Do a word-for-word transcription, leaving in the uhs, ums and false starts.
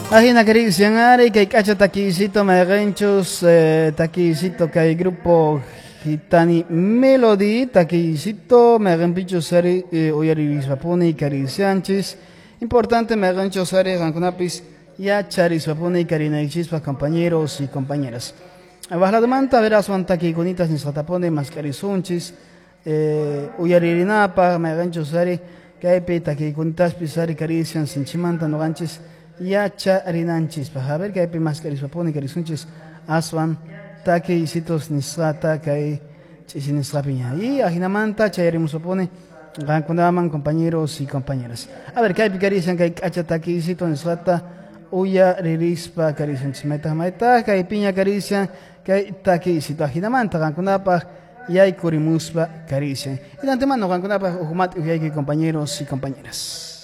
Ajina karisian kay k'acha takiycito mayqinchus eh, takiycito kay grupo Gitani Melody takiycito mayqinpichus ari eh, uyarispapuni karisianchis. Importante mayqinchus ari qankunapis yacharispapuni karinaykichispaq, compañeros y compañeras. Waqladumanta veraswan takiykunitas nisqatapuni mask'arisunchis eh, uyaririnapaq mayqinchus ari kaypi takiykunitaspi ari karisian sinchimanta nuqanchis yacharinanchispaq. A ver kaypi mask'arispapuni karisunchis aswan takiysitos nisqata kay ch'isi nisqapiña. Y ajinamanta chayarimuspapuni qankunaman, compañeros y compañeras. A ver kaypi karisian kay k'acha takiysito nisqata uyaririspa karisunchis maytaq maytaq kaypiña karisian kay takiysito ajinamanta qankunapaq yaykurimuspa karisian. Y de antemano qankunapaq huk mati uyayki, compañeros y compañeras.